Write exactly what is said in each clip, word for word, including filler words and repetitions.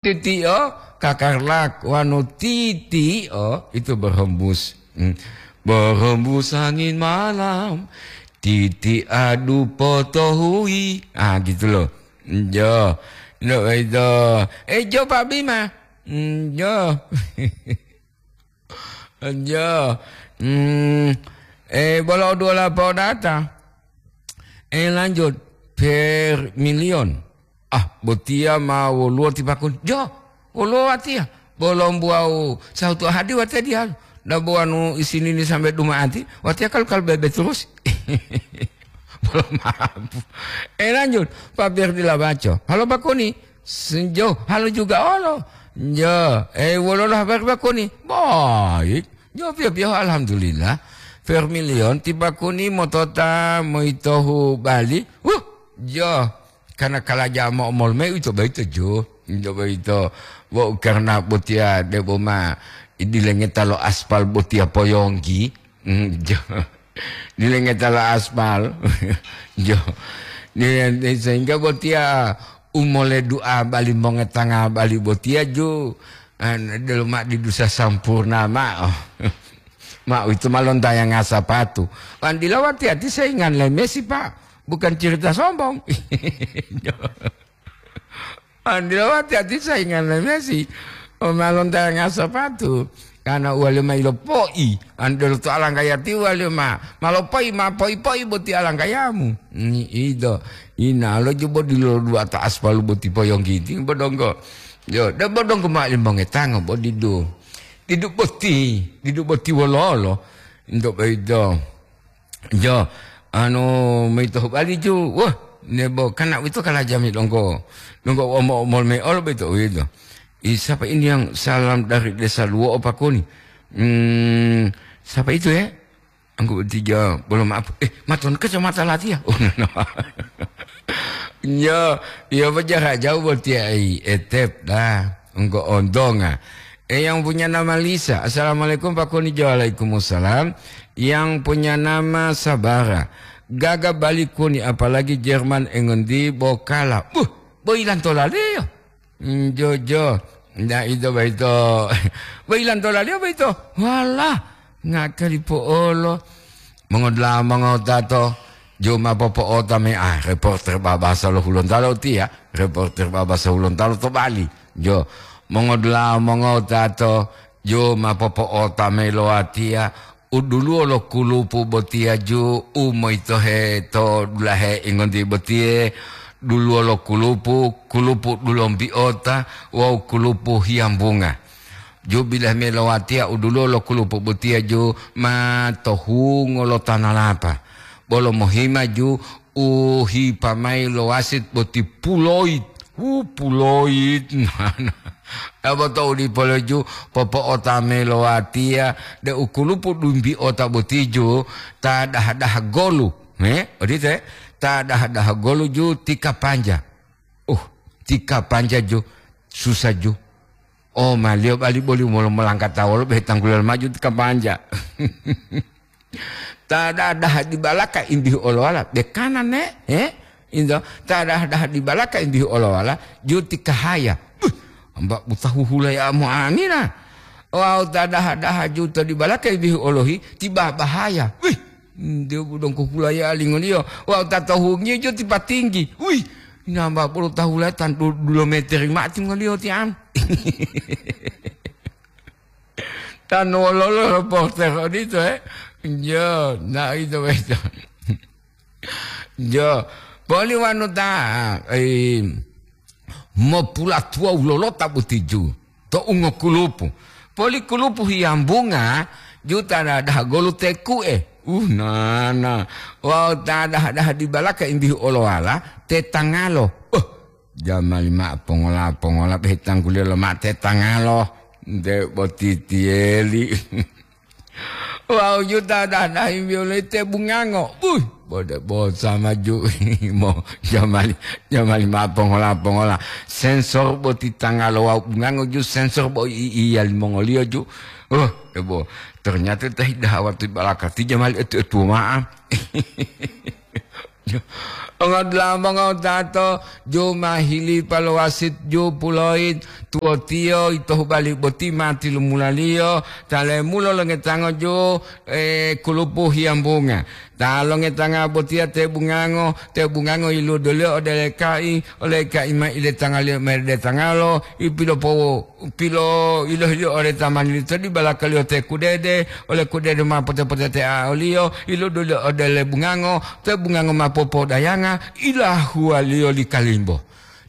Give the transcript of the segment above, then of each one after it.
Titio, kakarlak, wanu titio itu berhembus. Hmm. Berhembus angin malam, titi adu potohui. Ah, gitu loh. Jo. Ndak itu. Eh, jo, Pak Bima. Hmm, jo. Jo. Hmm. Eh, bolo dua lapau data. Eh, lanjut. Per milion. Ah, botiya ma woluwo ti pakun. Jo, woluwo watiya. Bolombu wawu sahutu hadi watiya diyalu. Nda bo wanu isinini sambe duma'ati, watiya kalu-kalu bebe terus. Bolo mabu. Eh, lanjut, Pak Ferdi Labaco. Halo, Pak Koni. Senjo, halo juga olo. Jo, eh, woluwo habari, Pak Koni. Baik. Jo, piyo-piyo, alhamdulillah. Vermilion ti Pak Koni motota moyitohu Bali. Huh, jo. Karena kalaja mo-, mol me uwito boyito, jo. Uwito boyito. Bo karena botiya debo ma idilengeta lo aspal botiya poyonggi. Hmm, jo. Dilengeta lo aspal. Jo. Di, di, sehingga botiya umole du'a bali mongetanga bali botiya, jo. An, delo ma didusa sampurna ma'o. Ma uwito ma lontayanga sapatu. Wan dila wati-ati saingan le Messi, Pak. Bukan cerita sombong. Jo. Andila wati-wati saingan le Messi, o ma lontayanga sapatu. Karena uwaliyo ma ilopo'i, andelo to alangkayati uwaliyo ma, ma lopo'i, ma po'i-po'i boti alangkayamu. Ni ito, inalo jobo dilo duwata aspalu boti poyonggiti bodonggo. Yo, de bodonggo ma limongetango bo didu. Didu boti, didu boti wololo. Into boyito. Jo, anu, meyito hubali ju. Wah, nebo kana uwito kalajami donggo. Donggo omo-omol me olo beto uwito. I, siapa ini yang salam dari Desa Luwo'o, Pak Koni? Hmm, siapa itu, ya? Anggu tiga, belum maaf. Eh, maton kacamata latiya. Oh, no, no. Yo, yo, bajara jauh buat tiai. Etep dah. Engko ontonga. Eh, yang punya nama Lisa. Assalamualaikum, Pak Koni. Waalaikumsalam. Yang punya nama Sabara. Gaga balik Koni, apalagi Jerman engondi bokala. Buh, boilan tolaliyo. Hmm, jojo. Nda ito baito. Boilan tolaliyo baito. Walah, ngakali po'olo. Mongodula'a mongotato, ju ma popo'ota mayi, ah, reporter babasa lo Hulontalo tiya, reporter babasa Hulontalo to Bali. Jo, mongodula'a mongotato, ju ma popo'ota mayi lo watiya, u duluwo lo kulupu botiya ju, u moyitohe to dulahe ingonti botiye, duluwo lo kulupu, kulupu dulombi'ota wawu kulupu hiyambunga. Ju bilahe mayi lo watiya u duluwo lo kulupu botiya ju ma to hungo lo tanalapa. Bolo mohima ju u hipa mayi lo wasit boti puloyit. Wu, puloyit. Dabo to u dipo lo ju popo'ota mayi lo watiya de u kulupu dumbi'ota boti ju ta daha-daha golu. He, odito, he? Ta daha-daha golu ju ti kapanja. Uh, ti kapanja ju susah ju. O, maliyo bali boli molo molangkata wolo behe tangguliyo maju ti kapanja. Ta dadaha dibalaka imbihu olowala, bekana ne, he? Indo, ta dadaha dibalaka imbihu olowala, juti kahaya. Buh, amba buta huhula ya mu'amina. Wawu ta daha-daha juto dibalaka imbihu olohi, tiba bahaya. Wih, nde budong kukulaya lingoliyo. Wawu ta tohungiyo juti patinggi. Wih, namba bolo tahula tan du-, dulo meteri mati ngoliyo ti an. Tan wololo reporter odito, eh? Jo, na ito boyito. Jo, poli wanu ta, eh, mopulatuwa wulolota boti ju to ungokulupu. Poli kulupu hiyambunga ju ta daha-daha golu teku'e. Uh, nana. Wawu ta daha-daha dibalaka imbihu olowala te tangalo. Uh, Jamali ma'o pongola-pongola, beh, tangguliyo loma'o te tangalo, nte botitiyeli. Wawu juta dadahi miyolete bungango. Buh, bode bosa maju. Mo, jamali, jamali ma'o pongola-pongola. Sensor boti tangalo wawu bungango ju sensor bo i-, iya limongoliyo ju. Oh, ebo, ternyata tahi dahawati balakati jamali etu-etu ma'a. Ongodula'a mongotato, ju ma hilipa lo wasit ju puloit, tuwotiyo ito hubali boti ma tilumulaliyo, ta lemulo longetango ju, eh, kulupu hiyambunga. Ta longetanga botiya te bungango, te bungango iludoliyo ode le ka'i, ole ka'i ma iletangaliyo meredetangalo, ipilopowo pilo ilohiliyo ode ta manilito dibalakaliyo te kudede, ole kudede ma pote-potetea oliyo, ilodoliyo ode le bungango, te bungango ma popodayanga, ilahuwaliyo li kalimbo.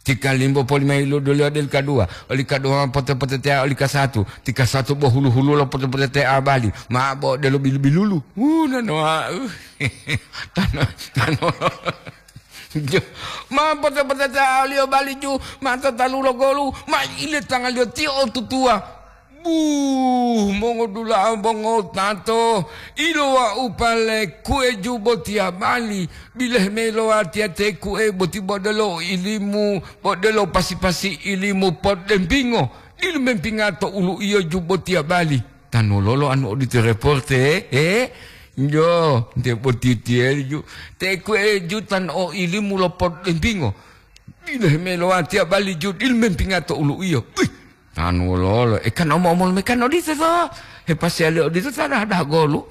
Ti kalimbo poli ma ilodoliyo ode li kaduwa, oli kaduwa ma pote-potetea oli kasatu, ti kasatu bo hulu-hululo pote-potetea bali, ma bo odelo bilu-bilulu. Uh, nanoa, uh. Tano, tano. Jo, ma pote-potetealiyo bali ju, ma tatalulo golu, ma iletangaliyo tiyo otutuwa. Buh, mongodula'a mongotato, ilowa'u pale kue ju botiya bali, bilehe me lowatiya te kue boti bodelo ilimu, bodelo pasi-pasi ilimu podempingo, dilu mempinga to ulu'iyo ju botiya bali. Tanulolo anu odito reporte, eh? Jo, nte botitiyeli ju. Te kue ju tan o ilimu lo podempingo. Dile me lo watiya bali ju, dil mempinga to ulu'iyo. Wih, tanulolo. E kan omo-omol me kan odito to. He pasiyali odito ta dah, dah golu.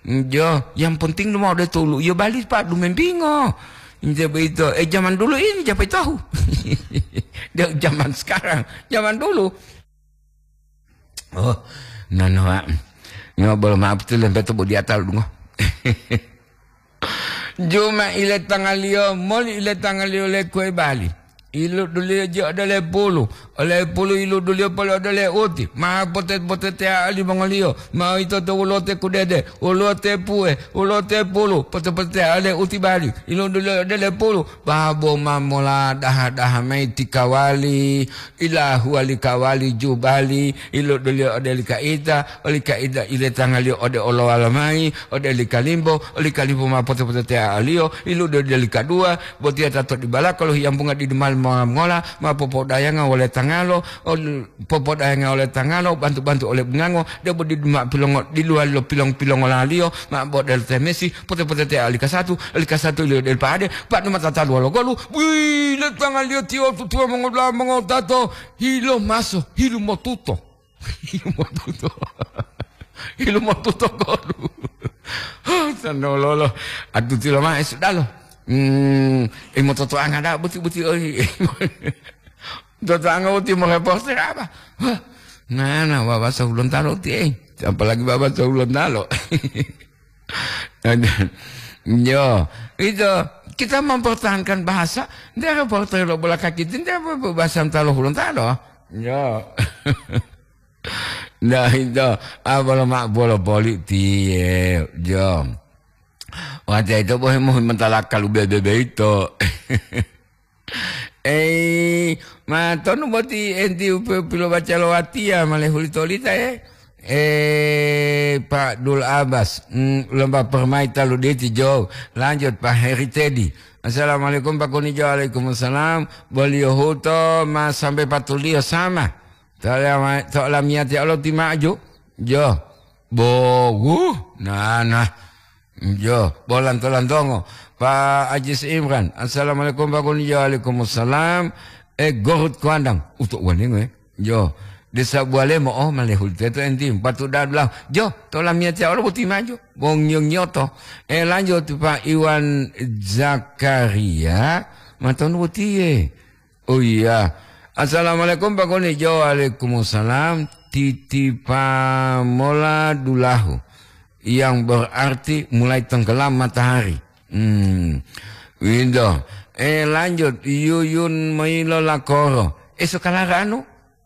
Jo, yang penting lu mau de to ulu'iyo bali pa dumempingo. Nte boyito, eh, zaman dulu ini siapa tahu. Dia zaman sekarang, zaman dulu. Oh, nanoa. Nyo bolo maaf tu lempeto bodi atal dungo. Juma ile tangaliyo, moli ile tangaliyo le kue bali. Iluduliyo ji ode le pulu, ole pulu iluduliyo poli ode le uti. Ma pote-potetea limongoliyo, ma ito to wulote kudede, wulote pue, wulote pulu, pote-potetea le uti bali. Iluduliyo ode le pulu, babo ma mola daha-daha mayi ti kawali. Ilahuwa li kawali jubali, ilodoliyo ode li kaita, oli kaita iletangaliyo ode olowala mayi, ode li kalimbo, oli kalimbo ma pote-potetea'aliyo, ilodoliyo li kaduwa, botiya ta to dibalaka lo hiyambunga didu mali mongola, ma popodayanga wole tangalo, ol-, popodayanga wole tangalo, bantu-bantu ole bungango, debo didu ma pilongo-, diluwali lo pilong-pilongolaliyo, ma bodel temesi, pote-potetea oli kasatu, oli kasatu ilio del pade, padu mata taluwa lo golu, wii, letangaliyo tiyo tutuwa mongola mongotato, Hilo maso, hilu motuto. Hilu motuto. Hilu motuto golu. Tanololo. Adutilo ma'e sudalo. Hmm, imo totoanga da buti-buti oi. Totoanga uti mo reporter apa? Wah, nana baba sahulontalo ti, eh. Apalagi baba sahulontalo. Yo, itu kita mempertahankan bahasa, nde reporter lo bola kaki itu, nde apa bahasa talo hulontalo. Yo. Nah, itu, apa lo mak bolo politik, yo. Wajah itu bohe muhi mentala kalu bebe itu. Ei, ma tonu boti enti u pe-, pilobaca lo watiya ma lehuli tolita, eh? Eh, Pak Dul Abbas, mm, lomba permai talu diti jo. Lanjut, Pak Heri Tedi. Assalamualaikum, Pak Kunijo. Waalaikumsalam. Boliyo huto ma sampai patuliyo sama. To lama-, to lamiyati Allah ti maju. Jo. Bogu. Nah, nah. Jo, bo lanto-lantongo. Pak Ajis Imran, "Assalamualaikum, Pak Kunijo." "Waalaikumsalam." Eh, Gorut Kuandang. Uto wanengo, eh. Jo, Desa Bualemo, oh, malehuli teto enti. Patu dadulah. Jo, to lamiyatiya olo boti maju. Wong ngiyo-ngiyoto. Eh, lanjut, Pak Iwan Zakaria. Matonu botiye. Oh iya. "Assalamualaikum, Pak Kunijo." "Waalaikumsalam." Titipa mola dulahu. Yang berarti mulai tenggelam matahari. Hmm. Windo. Eh, lanjut. Yuyun Mailo Lakoro. Eh, sekarang anu?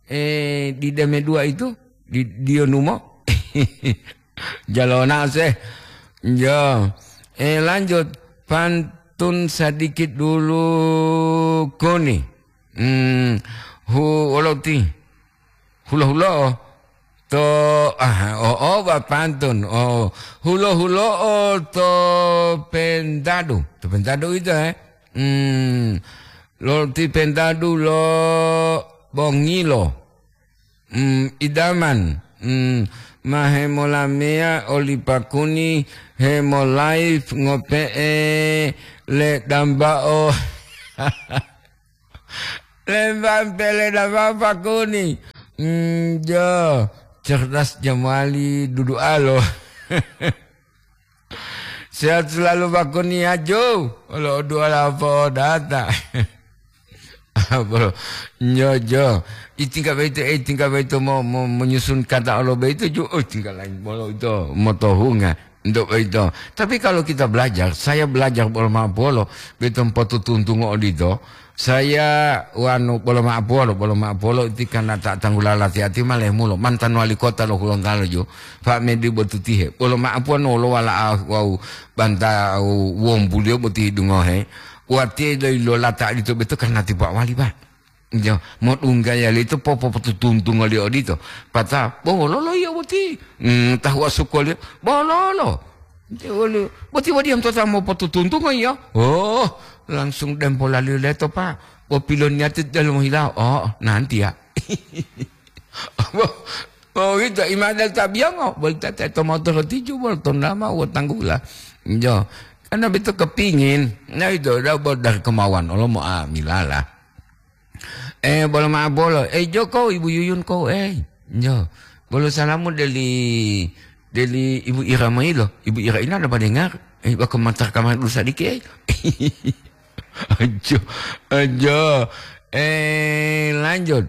Eh, di Deme dua itu? Di Dionumo? Jalona se. Yo. Eh, lanjut. Pantun sedikit dulu koni. Hmm. Hu, oloti. Hulo-hulo'o to, ah, o, o, ba pantun. O, hulo-hulo'o to Pentadu. To Pentadu ito, eh? Hmm, lo ti Pentadu lo Bongilo. Hmm, idaman. Hmm, ma hemolameya oli pakuni hemolive ngope'e le dambao. Lembang pele dambao pakuni. Hmm, jo, cerdas jamali dudualo. Sehat selalu pakuni ya, Jo. Olo duala po data. Bolo, nyojo. Itingga boyito, eh, itingga boyito mo, mo, menyusun kata olo boyito ju, oh, tinggal lain bolo ito, motohunga, untuk boyito. Tapi kalau kita belajar, saya belajar bolo ma'o polo, boyito potutuntungo odito. Saya wanu bolo ma'o polo, bolo ma'o polo iti karena ta tanggula lati-ati malemulo. Mantan wali kota lo Gorontalo ju, Pak Medi Botutihe. Bolo ma'o polo lo wala ah, wau banta wombuliyo boti dungohe. Watiya lo, lo lata odito boyito karena ti Pak Wali, Pak. Jo, modunggaya lito popopotutuntungo li odito. Pata, "Bololo iya boti." Hmm, tahuwa sukuwaliyo, "Bololo." Nte woli, "Boti wadiya motota mopotutuntungo iya?" Oh, langsung dempolaliyo leto, Pak. Bo piloniyati delomo hilawo. Oh, nanti ya. Bo, bo wito imada tabiyongo. Boli tata to motoro tiju, bolo tondama, wo tanggula. Jo, karena beto kepingin. Nah, itu udah bo dari kemauan. Olo mo amilala. Eh, bolo ma'o bolo. Eh, Jo ko, Ibu Yuyun ko, eh. Jo. Bolo salamu deli, deli Ibu Ira mailo. Ibu Ira ini ada pada dengar. Eh, bako matar kamar dulu sadiki, eh. Ajo, ajo. Eh, lanjut.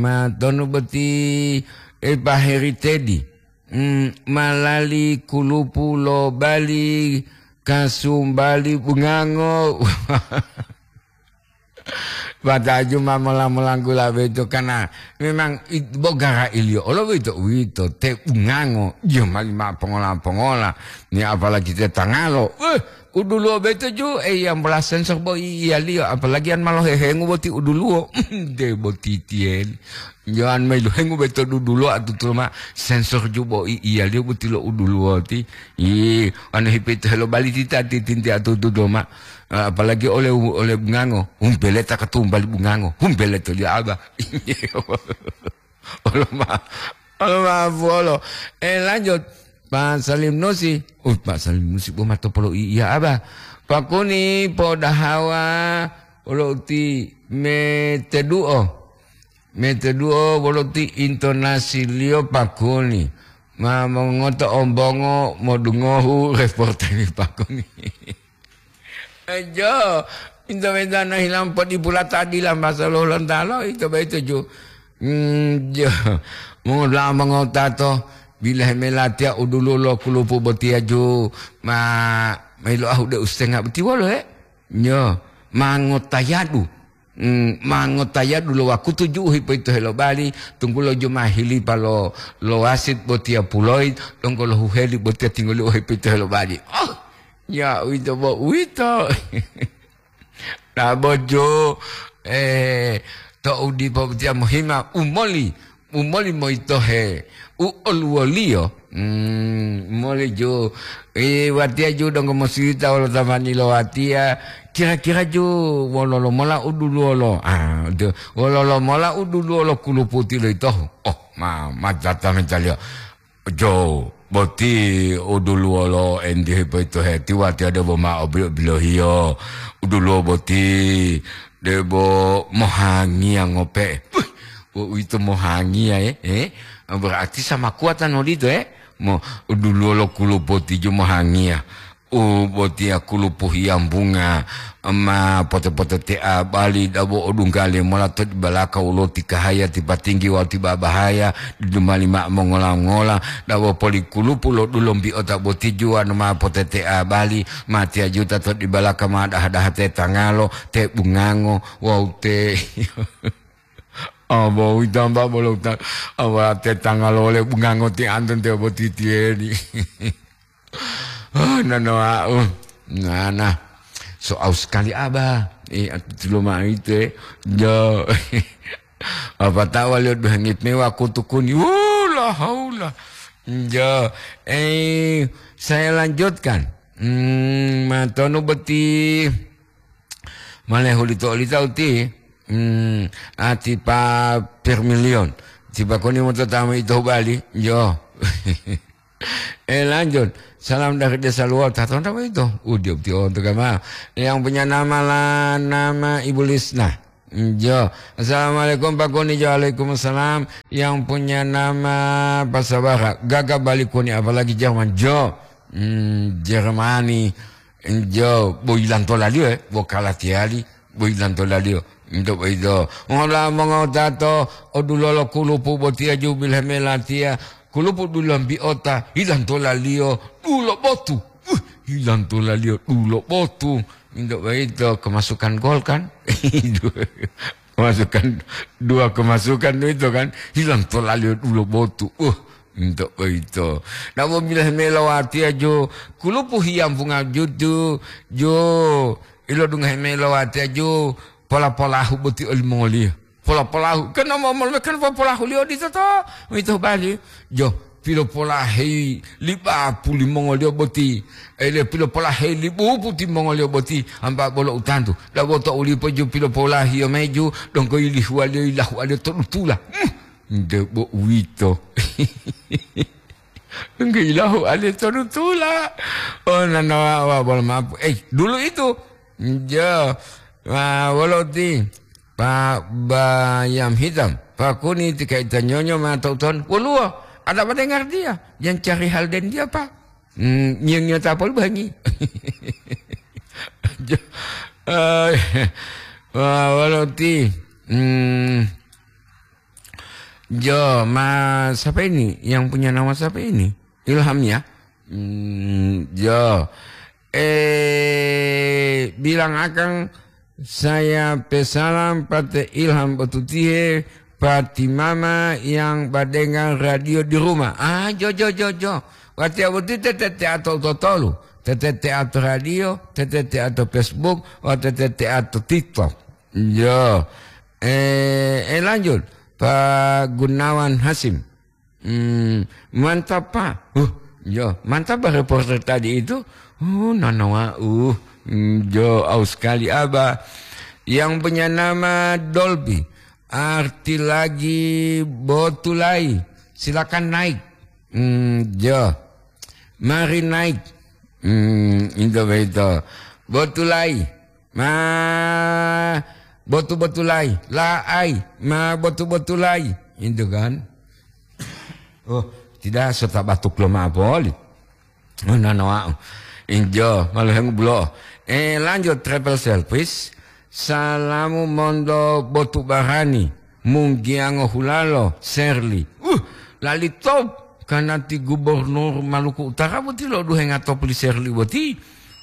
Ma tonu boti, eh, Pak Heri Tedi. Hmm, malali kulupu lo Bali, kasumbali bungango. Bataju ma mola-molanggula boyito, karena memang it-, bo garailiyo olo boyito uwito, te bungango, iyo mali ma pongola-pongola, ni apalagi te tangalo, eh, uduluwo boyito ju, eh, yambola sensor bo i-, iyaliyo, apalagi an ma lohehengu boti uduluwo, de bo titiyeli. Yo an ma ilohengu boyito dudulo atutulo ma sensor ju bo i-, iyaliyo boti lo uduluwo ti. Ih, anu hipito helo bali tita titinti atutulo ma. Ah, apalagi oleh, oleh bungango, humpeleta katumbali bungango, humpeleto lia aba. Olo ma, olo ma buolo. Eh, lanjut. Pak Salim Nusi. Uh, Pak Salim Nusi, bo mato polo i-, iya aba. Pakuni podahawa olo uti meteduo. Meteduo wolo ti intonasiliyo pakuni. Ma mongoto ombongo modungohu reporteri pakuni. Ejo, minta-minta na hilang podi pulata dila masa lo Hulontalo, ito ba ito ju. Hmm, jo. Mongola mongotato, bila hemelatia udulu lo kulupu botia ju. Ma, mailo ahu de ustenga boti wolo, he? Nyo, mangotayadu. Hmm, mangotayadu lo wakutu ju u hipoyitohe lo bali, tunggulo ju ma hilipa lo, lo wasit botiya puloi, donggo lo huheli botiya tinggoli u hipoyitohe lo bali. Oh, ya uwito bo uwito. Dabo ju, eh, to'u dipo botiya mohima umoli. Umoli moyitohe u oluwoliyo, hmm, umoli ju, i, watiya ju donggo mosirita wolo tamani lo watiya, kira-kira ju wololo mola u duluwolo? Ah, ju, wololo mola u duluwolo kuluputi lo yitohu? Oh, ma, ma datangitaliyo. Jo, boti u duluwolo entihe boyitohe ti watiya debo ma'o bilo-bilohiyo. U duluwo boti debo mohangiya ngope'e. Puh, wo uwito mohangiya, eh? Eh? Berarti sama kuatan odito, eh? Mo, u duluwo lo kulupu ti ju mohangiya. U botiya kulupu hiyambunga, ma pote-potetea bali dabo odunggale mola to dibalaka u loti kahaya ti patinggi wawu ti babahaya, didumali ma'o mongola-ngola, dabo poli kulupu lo dulombi'ota boti juwanu ma potetea bali, ma tiyajuta to dibalaka ma daha-daha te tangalo, te bungango, wawu te Abo uwito amba bolo uta, aba te tangalo wole bungango ti anton te boti tiyeni. Oh, nano au. Nana. So au sekali aba. Eh, atu tulo ma ite. Jo. Apa tawa lihat duhengit mewa kutukuni. Wala haula. Jo. Eh, saya lanjutkan. Hmm, matonu beti. Malehu lito olita uti, hmm, ati pa Permilion. Tiba koni mo tatamu ito bali, jo. Eh, lanjut. Salam dari Desa Luo, tatonda itu. Udio betul untuk kama. Yang punya nama lah, nama Ibu Lisna. Jo. Assalamualaikum Pak Kuni. Jo, waalaikumsalam. Yang punya nama Pasabara. Gaga balik Kuni, apalagi Jerman. Jo. Hmm, Jermani. Jo, bo ilantola liyo, eh. Bo kalatiali. Bo ilantola liyo. Untuk itu. Ngola mongotato, odulolo kulupu botia jubil hemelatia. Kulupu dulambi ota, ilantola liyo, dulo botu. Uh, ilantola liyo, dulo botu. Untuk itu, kemasukan gol kan? Kemasukan, dua kemasukan itu kan, hilang tolali dulo botu. Uh, ento boyito. Namo bilah melowati ajo, kulupu hiyampunga jutu, jo, ilodunga melowati ajo, pola-polahu boti olimongoliyo. Pola-polahu, kan namo molome kan popolahu liyo dito to, ito bali. Jo, pilopolaheyi li bapu limongoliyo boti, ele pilopolaheyi li bupu timongoliyo boti, amba bolo utantu. Dabo to ulipo ju pilopolahiyo meju, donggo yilihuwaliyo yilahuwaliyo to dutula. Hmm, debo uwito. Donggo yilahuwaliyo to dutula. Oh, nanawa, wa, bolo mapu. Eh, dulu itu. Jo, wa, wolo ti. Pak Bayam Hitam, Pak Kuni tika ita nyonyo ma tau-tauwan, woluwo, ada pada ngartiya, yang cari hal den dia, Pak. Hmm, nyiyo-nyiyo tapol bangi. Jo, eh, wah, walo ti, hmm, jo, ma, siapa ini? Yang punya nama siapa ini? Ilham ya? Hmm, jo. Eh, bilang akang, saya pesalam pate Ilham botutihe, pati mama yang badengar radio di rumah. Ah, jo, jo, jo, jo. Watiya boti tete teato totolu. Tete teato radio, tete teato Facebook, wa tete teato TikTok. Jo. Eh, eh, lanjut. Pak Gunawan Hasim. Hmm, mantap, Pak. Huh, yo, mantap, Pak, reporter tadi itu. Oh, nanawa, uh, hmm, jo, aus sekali, Abah. Yang punya nama Dolby, arti lagi botulai. Silakan naik. Hmm, jo. Mari naik. Hmm, itu begitu. Botulai. Ma botu-botulai, la'ai, ma botu-botulai, itu kan. Oh, tidak, sota batuk lo ma poli. Oh, nanawa. Injo, malu hengu bulo. Eh, lanjut travel service. Salamu mondo botu barani. Munggiyango hulalo, Serli. Uh, lali top. Kanati gubernur Maluku Utara boti lo duhenga top li Serli boti.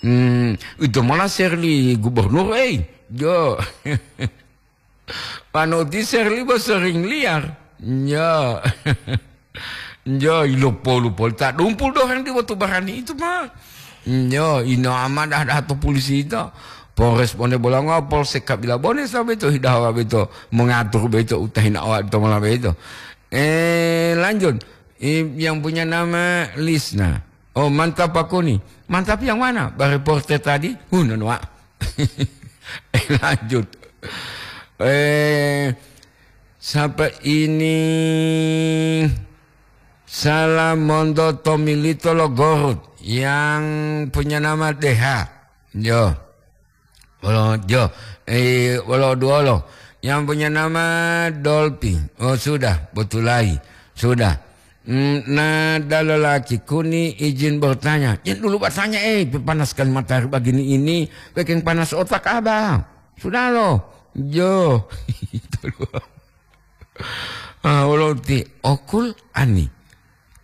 Hmm, ito mola Serli gubernur, eh. Jo. Panoti Serli bo sering liar. Jo. Jo, ilopo-lopo. Tak dumpul doheng di botu barani itu, Pak. Nyo, ino amadah dah to polisi ito. Polres Bone Bolongo, Polsek Kabila Bone, sampai to hidawa beto, mengatur beto, utahina awak to mola beto. Eh, lanjut. Eh, yang punya nama Lisna. Oh, mantap Pak Kuni. Mantap yang mana? Bah reporter tadi? Huh, nonwa. Eh, lanjut. Eh, siapa ini? Salam monto Tomilito lo Gorut yang punya nama Deha. Yo. Wolo, jo. Eh, wolo duolo. Yang punya nama Dolpi. Oh, sudah. Botulai. Sudah. Hmm, nah, dalalaki Kuni izin bertanya. Ya, dulu bertanya, eh, panas sekali matahari begini ini. Bikin panas otak Abang. Sudah loh. Jo. Itu loh. Ah, wolo ti okul ani.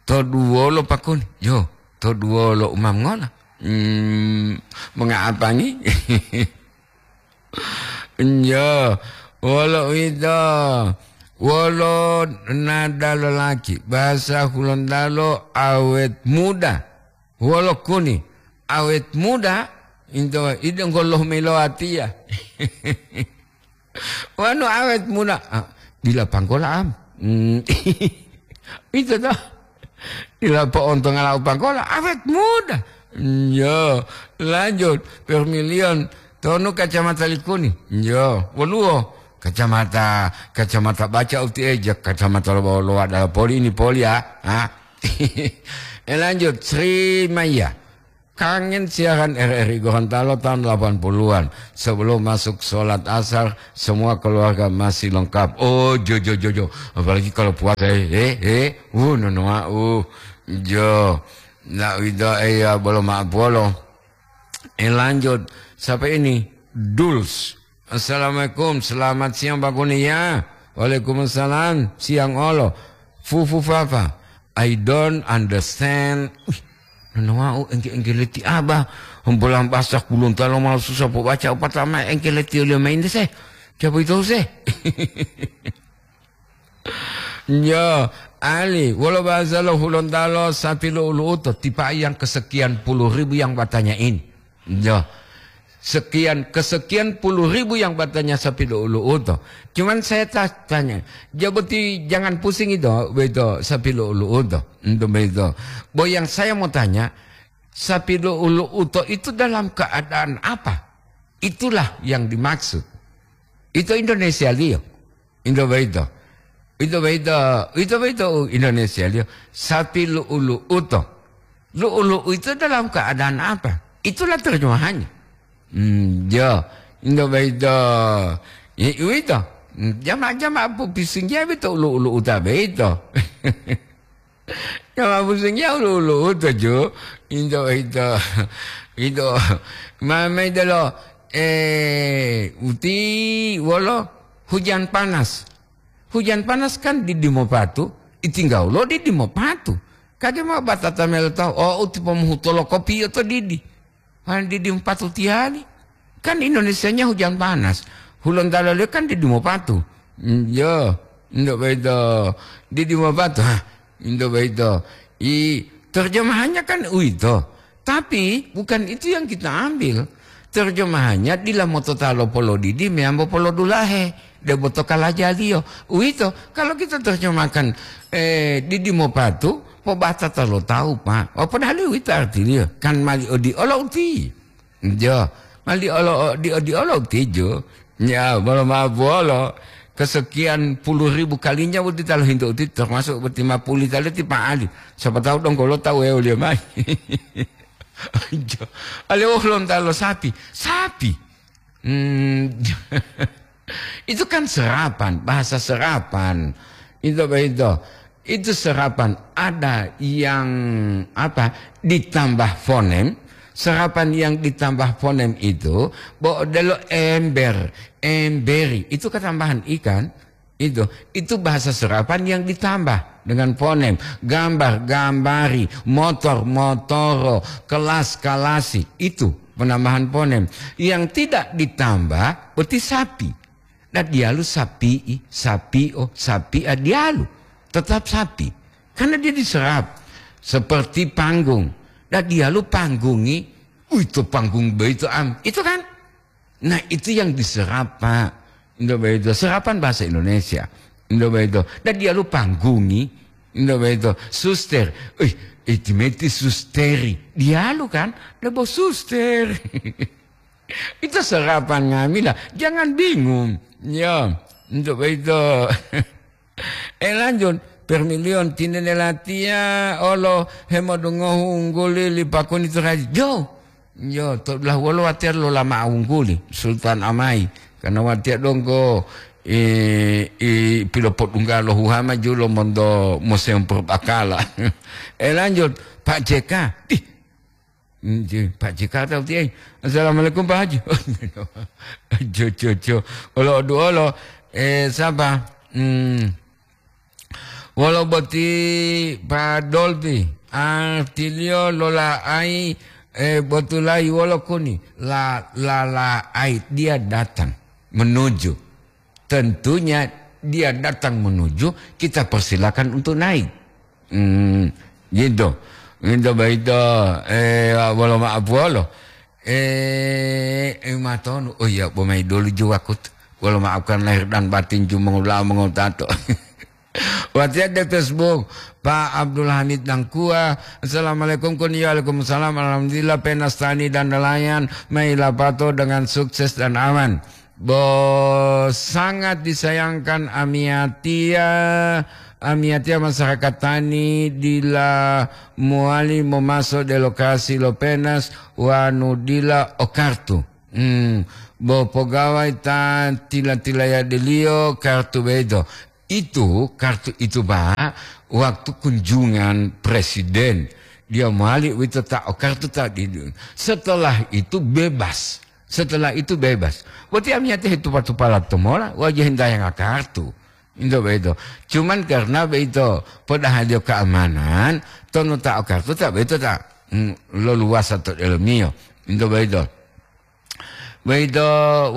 To duwolo Pak Kuni. Yo, to duwolo umam ngola. Hmm, mengapangi? Yo, wolo uwito. Wolo nada lolaki. Bahasa Hulontalo awet muda. Wolo Kuni. Awet muda. Into, idong goloh meloatiya. Wanu awet muda, ah, dila panggola am. Hmm. Itu toh. Dila po'onto ngalau panggola, awet muda. Yo, lanjut. Permilion, tonu kacamata Likuni. Yo, woluwo. Kacamata, kacamata baca uti eja, kacamata lo, lo adalah poli ini poli ya. Ha? Eh, lanjut, Sri Maya. Kangen siaran R R I Gorontalo tahun delapan puluhan. Sebelum masuk sholat asar, semua keluarga masih lengkap. Oh, jo, jo, jo, jo. Apalagi kalau puasa, eh, eh, eh. Uh, nonoa, uh. Jo. Nak wida, eh, ya, belum maaf, bolo. Eh, lanjut. Siapa ini? Duls. Assalamualaikum, selamat siang, Pak Kurnia. Waalaikumsalam, siang olo. Fufu Fafa, I don't understand. Wih, nonowau engke-engke leti Abah. Hembolang basah Gorontalo malu susah pobaca, patama engke leti oliyo main dese. Coba itu se. Yo, ali, wolo bahasa lo Hulontalo sapi lu'u-lu'uto, tipa yang kesekian puluh ribu yang bertanya ini. Yo, sekian, kesekian puluh ribu yang bertanya sapi lu'u-lu'uto. Cuman saya ta-, tanya, ya boti jangan pusing itu, begitu, sapi lu'u-lu'uto. Untuk begitu. Bo yang saya mau tanya, sapi lu'u-lu'uto itu dalam keadaan apa? Itulah yang dimaksud. Itu Indonesia liyo. Into boyito. Ito boyito, ito boyito u Indonesia liyo. Sapi lu'u-lu'uto. Lu'u-lu'u itu dalam keadaan apa? Itulah terjemahannya. Hmm, yo. Into boyito. Ya, uwito. Hmm, jama-jama popisinggih boyito lu'u-lu'uta boyito. Jama popisinggih lu'u-lu'uto, ju. Into boyito. Ito. Ma-, mayi delo, eh, uti wolo hujan panas. Hujan panas kan didi mopatu, itingga wolo didi mopatu. Kade mao batata melo tawu, o, uti pomuhuto lo kopiyo to didi. Wani didi mopatu tiyali. Kan Indonesianya hujan panas. Hulontalo liyo kan didi mopatu. Mm, yo, ndo boyito. Didi mopatu. Hah, ndo boyito. I, terjemahannya kan uwito. Tapi bukan itu yang kita ambil. Terjemahannya dila motota lo polodidi meyambo polodulahe, debo to kalajaliyo. Uwito, kalau kita terjemahkan, eh, didi mopatu, pobatata lo tawu, Pak. Oh, padahal uwito artiliyo. Kan mali odiolo uti. Jo, mali olo, di, odiolo uti, jo. Ya, bolo maaf, bolo. Kesekian puluh ribu kalinya boti ta lohintu uti, termasuk boti mapuli tali ti Pak Ali. Siapa tahu donggo lo tawu wuwoliyo mayi. Jo, ale wolo lonta lo sapi. Sapi. Hmm, itu kan serapan, bahasa serapan. Itu apa itu? Itu serapan. Ada yang, apa, ditambah fonem. Serapan yang ditambah fonem itu, bo odelo ember, emberi. Itu ketambahan ikan. Itu, itu bahasa serapan yang ditambah dengan fonem. Gambar, gambari, motor, motoro, kelas, kalasi. Itu penambahan fonem. Yang tidak ditambah, berarti sapi. Nah, dialu sapi'i, sapio, sapia, dialu. Tetap sapi. Karena dia diserap. Seperti panggung. Nah, dialu panggungi, uwito panggung boyito am. Itu kan? Nah, itu yang diserap, Pak. Indo boyito, serapan bahasa Indonesia. Indo boyito. Dan dialu panggungi. Indo boyito. Suster. Wih, itimeti susteri. Dialu kan? Lebo suster. Itu serapan nga'amila. Jangan bingung. Ya, indo boyito. Eh, lanjut. Permilion tinene latiya olo hemodungohu ungguli li Pakuni Turaji. Jo. Jo, to dulahu wolo watiya lolama ungguli, Sultan Amai. Karena watiya donggo, eh, i pilopodungga lo huhama julo monto Museum Purbakala. Eh, lanjut, Pak J K. Ih, Nji, Pak J K tawu tiye. Assalamualaikum, Pak Haji. Jo, jo, jo. Olo duolo, eh, sapa? Hmm. Wolo boti Pak Dolpi. Artiliyo lola'ai, eh, botulai wolo kuni. La, la, la'ai. Dia datang menuju. Tentunya dia datang menuju, kita persilakan untuk naik. Hmm, gitu. Gitu begitu. Eh, wolo maaf wolo. Eh, eh, matonu. Oh iya, bo mayi dulu ju wakut. Wolo maafkan lahir dan batin ju mengula mengotato. Watiya de Facebook, Pak Abdul Hamid Dangkua. Assalamualaikum, kun, ya, waalaikumsalam. Alhamdulillah, penastani dan nelayan mayi lapato dengan sukses dan aman. Bo sangat disayangkan amiyatiya, amiyatiya masyarakat tani dila mowali momaso de lokasi lo penas wanu dila o kartu. Hmm, bo pogawai ta tila-tilayadeliyo kartu boyito. Itu, kartu itu, Pak, waktu kunjungan presiden, dia mowali uwito ta o kartu ta di, setelah itu bebas. Setelah itu bebas. Berarti amiyatiya hetupa-tupala tomola, wajah hintayanga kartu. Into boyito. Cuman karena boyito, podahaliyo keamanan, tonu ta o kartu ta boyito ta, mm, loluwasa to delomiyo. Into boyito. Boyito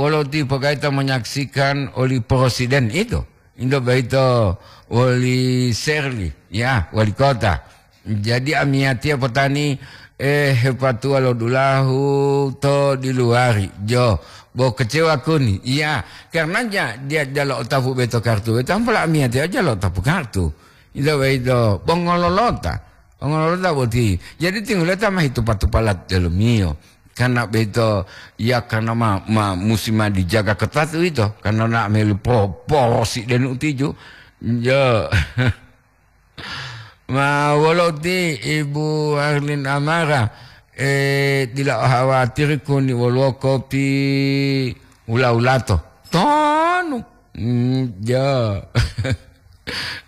wolo ti pogaita menyaksikan oli presiden itu. Into boyito woli Serli, ya, wali kota. Jadi amiyatiya potani, eh, hepatuwa lo dulahu to diluwari, jo, bo kecewa kuni. Iya, karenanya dia jalo otapu boyito kartu, boyito ampola amiyatiya jalo otapu kartu. Into boyito, bo ngololota. Bo ngololota boti. Jadi tingguleta ma hitupa-tupala delomiyo. Karena boyito, ya, karena ma, ma, musi ma dijaga ketat uwito, karena na meli po, porosi denu utiju. Jo. Ma wolo ti Ibu Arlin Amara, eh, dila o hawatiri kuni woluwo kopi hula-hulato. Tonu. Mm, jo.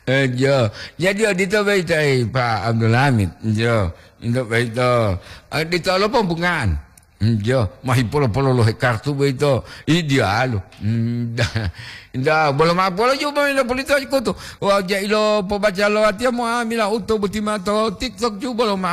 Eh, jo. Jadi odito boyito, eh, Pak Abdul Hamid. Jo. Into boyito. Eh, dito lo pembungaan. Mm, jo. Mahi polo-polo lo he kartu boyito. Ih, diyalu. Mm, da, da, bolo ma'o polo ju boyito polito kutu. Wa jailo pobaca lo atiya mo amila uto boti mato TikTok ju bolo